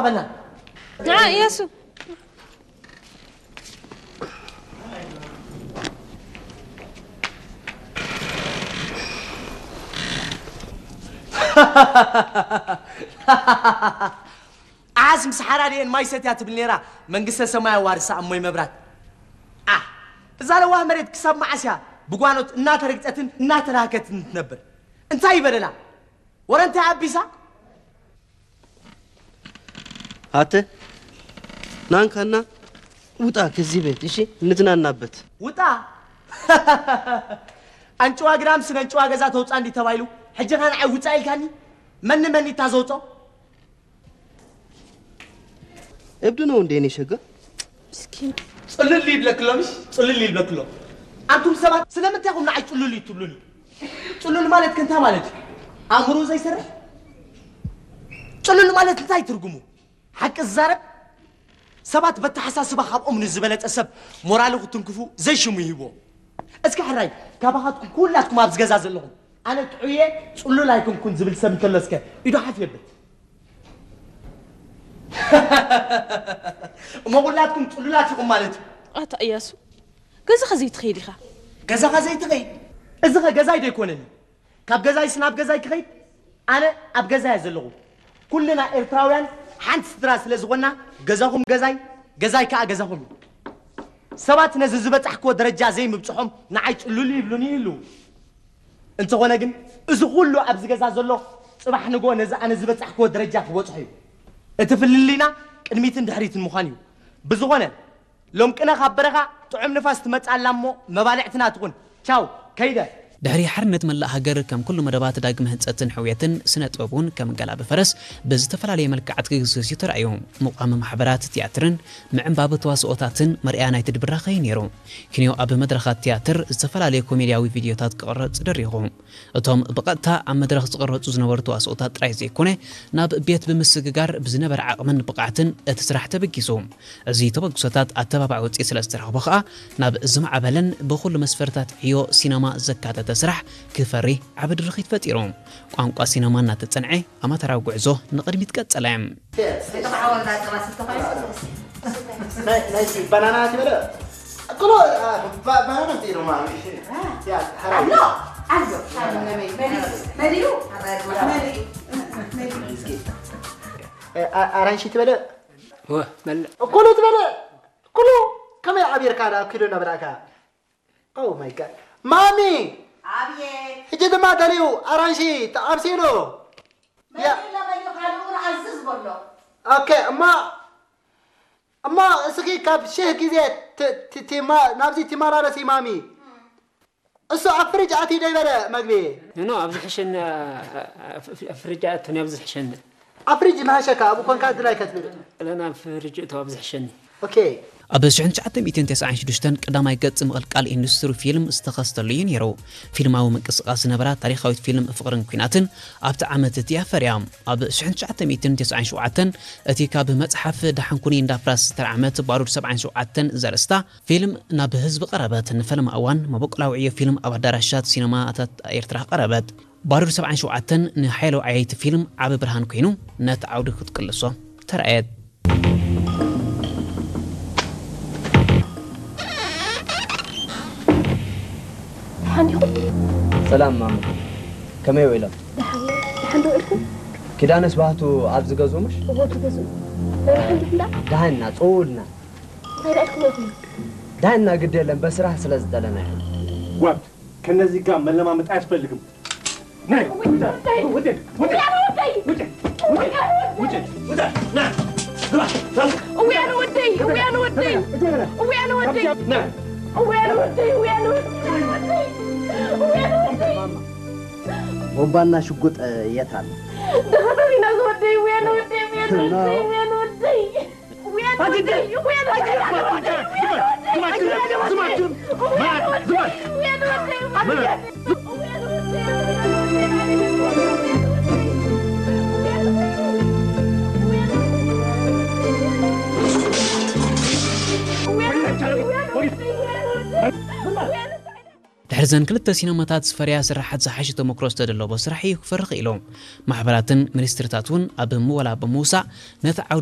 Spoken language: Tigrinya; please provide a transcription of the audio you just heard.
በና። ንዓ እያሱ። ኣሓስ ምስ ሓራድኤን ማይ ሰትያ ትብል ነይራ። መንግስተ ሰማይ ኣዋርሳ እሞይ መብራት። ኣ እዛ ለዋህ መሬት ክሳብ መዓስ እያ ብጓኖት እናተረግጸትን እናተላህከትን ትነብር? እንታይ ይበደላ? ወረ እንታይ ኣቢሳ? ኣተ ናንካና ውጣ ከዚህ ቤት እሺ፣ እንትናናበት። ውጣ። ኣንጭዋ ግዳም ስነ ኣንጭዋ ገዛ ተውፃ እንዲ ተባይሉ ሕጂ ኸ ንዓይ ውፃ ኢልካኒ? መኒ መኒ እታ ዘውፆ? እብድ ነው እንዴ እኔ ሸጋ? ፅሉል ይብለክሎ ምሽ ፅሉል ይብለክሎ። ኣንቱም ሰባት ስለምንታይ ኢኹም ንዓይ ፅሉል እዩ ትብሉኒ? ፅሉል ማለት ከ እንታይ ማለት እዩ? ኣእምሮ ዘይሰርሕ? ፅሉል ማለት እንታይ ትርጉሙ? ሓቂ ዝዛረብ ሰባት በተሓሳስባ ካብኦም ንዝበለፀ ሰብ ሞራሉ ክትንክፉ ዘይሽሙ ይህብዎ። እስኪ ሕራይ ካባኻትኩም ኩላትኩም ኣብዚ ገዛ ዘለኹም ኣነ ጥዑየ ፅሉል ኣይኮንኩን ዝብል ሰብ እንተሎ እስከ ኢዱ ሓፍ የብል። እሞ ኩላትኩም ፅሉላት ኢኹም ማለት እዩ። ኣታ እያሱ ገዛኻ ዘይትኸይድ ኢኻ። ገዛኻ ዘይትኸይድ? እዚ ኸ ገዛይ ዶ ኣይኮነን? ካብ ገዛይስ ናብ ገዛይ ክኸይድ? ኣነ ኣብ ገዛይ እየ ዘለኹ። ኩልና ኤርትራውያን ሓንቲ ስድራ ስለ ዝኾንና ገዛኹም ገዛይ፣ ገዛይ ከኣ ገዛኹም እዩ። ሰባት ነዚ ዝበጻሕክዎ ደረጃ ዘይምብጽሖም ንዓይ ጽሉል ይብሉኒ ይህልዉ። እንተኾነ ግን እዚ ኩሉ ኣብዚ ገዛ ዘሎ ጽባሕ ንግሆ ነዚ ኣነ ዝበጻሕክዎ ደረጃ ክበጽሖ እዩ። እቲ ፍልልይና ቅድሚትን ድሕሪትን ምዃን እዩ። ብዝኾነ ሎምቅነ ካብ በረኻ ጥዑም ንፋስ ትመጽእ ኣላ እሞ መባልዕትና ትኹን። ቻው ከይደ። ድሕሪ ሓርነት መላእ ሃገር ከም ኩሉ መደባት ዳግመ ህንጸትን ሕውየትን ስነ ጥበብ እውን ከም ጋላቢ ፈረስ ብዝተፈላለየ መልክዓት ክግስስ እዩ ተራእዩ። ምቋም ማሕበራት ትያትርን ምዕንባብ ተዋስኦታትን መርኣያ ናይቲ ድብራኸ እዩ ነይሩ። ኪንዮ ኣብ መድረኻት ትያትር ዝተፈላለየ ኮሜድያዊ ቪድዮታት ክቕረጽ ደሪኹ። እቶም ብቐጥታ ኣብ መድረኽ ዝቕረጹ ዝነበሩ ተዋስኦታት ጥራይ ዘይኮነ ናብ ቤት ብምስግጋር ብዝነበረ ዓቕምን ብቕዓትን እቲ ስራሕ ተበጊሱ። እዚ ተበግሶታት ኣተባባዒ ውፅኢት ስለ ዝተረኽቦ ከኣ ናብ ዝማዕበለን ብኹሉ መስፈርታት ዕዮ ሲነማ ዘካተተ ስራሕ ክፈሪ ዓቢ ድርኺት ፈጢሩ። ቋንቋ ሲነማ እናተጸንዐ ኣማተራዊ ጉዕዞ ንቕድሚት ቀጸለ። ናይቲ ባናና ትበለ እቅሎ ባናና ምጥኢሉ ማሚ ኣሎ ኣሎ መሊኡ ኣራንሺ ትበለ እኮሎ ትበለ ኩሉ ከመይ ዓቢርካ ዳ ኪዶ እናበላዕካ Oh my god ማሚ ኣብየት ሕጂ ድማ ደልዩ ኣራንሺ ተዓብሲሉ መሊኡ ለመሊኡ ካልኡ ኣዝዝ በሎ ኦኬ እማ እማ እስኺ ካብ ሽህ ግዜ ት- ት- ትማ- ናብዚ ትመላለሲ ማሚ እሱ ኣብ ፍሪጅ ኣትዩ ዶ ይበለ መግቢ ኖ ኣብዚ ሕሸኒ ፍርጃ ኣቶኒ ኣብዚ ሕሸኒ ኣብ ፍሪጅ መሃሸካ ኣብኡ ኮንካ ድላይ ከትብል ለና ፍርጅ እቶ ኣብዚ ሕሸኒ ኦኬ ኣብ ሽሕን ትሽዓተ ሚእትን ተስዓን ሽዱሽተን ቀዳማይ ገጽ ምቕልቃል ኢንዱስትሪ ፊልም ዝተኸስተሉ እዩ ነይሩ። ፊልማዊ ምንቅስቓስ ዝነበራ ታሪኻዊት ፊልም ፍቕርን ኲናትን ኣብቲ ዓመት እቲ ኣፈርያ። ኣብ ሽሕን ትሽዓተ ሚእትን ተስዓን ሸውዓተን እቲ ካብ መጽሓፍ ደሓን ኩኒ እንዳፍራስ ዝተርዓመት ባሩድ ሰብዓን ሸውዓተን ዘርእስታ ፊልም ናብ ህዝቢ ቀረበት። ንፈለማ እዋን መበቆላዊ ዕዮ ፊልም ኣብ ኣዳራሻት ሲነማታት ኤርትራ ቀረበት። ባሩድ ሰብዓን ሸውዓተን ንሓያሎ ዓየይቲ ፊልም ዓቢ ብርሃን ኮይኑ ነቲ ዓውዲ ክትቅልሶ ተራእየት። ደሓን ዲኹም? ሰላም ማማ፣ ከመይ ውዒሎም? ደሓን ደሓን ዶ ውዒልኩም? ኪዳነስ ባህቱ ኣብዚ ገዝኡ ምሽ? እዎ ትገዝኡ? ናይ ደሓን ዲኹም ደኣ? ደሓንና፣ ጽውልና። እንታይ ደኣ ኢልኩም ኢኹም? ደሓንና ግድ የለን፣ በስራሕ ስለ ዝደለና ኢና። ጓድ፣ ከነዚህ ጋር መለማመጥ አያስፈልግም። ነይ፣ ውጣ፣ ውጣ፣ ውጣ፣ ውጣ፣ ውጣ፣ ውጣ፣ ና፣ ግባ፣ ግባ። እውይ፣ ኣነ ወደይ፣ እውይ፣ ኣነ ወደይ፣ እውይ፣ ኣነ ወደይ፣ ና። እውይ፣ ኣነ ወደይ፣ እውይ፣ ኣነ ወደይ፣ እውይ፣ ኣነ ወደይ፣ እውይ፣ ኣነ ወደይ። ቦምባና ሽጉጥ የት ኣሎ? ደኸተሪና ዝወደይ፣ እውይ፣ ኣነ ወደይ፣ እውይ፣ ኣነ ወደይ፣ እውይ፣ ኣነ ወደይ። ድሕሪ ዘን ክልተ ሲነማታት ዝፈርያ ስራሓት ዝሓሸ ተመክሮ ዝተደለቦ ስራሕ እዩ ክፈሪ ክኢሉ። ማሕበራትን ሚኒስትሪታት እውን ኣብ ምወላ ብምውሳእ ነቲ ዓውዲ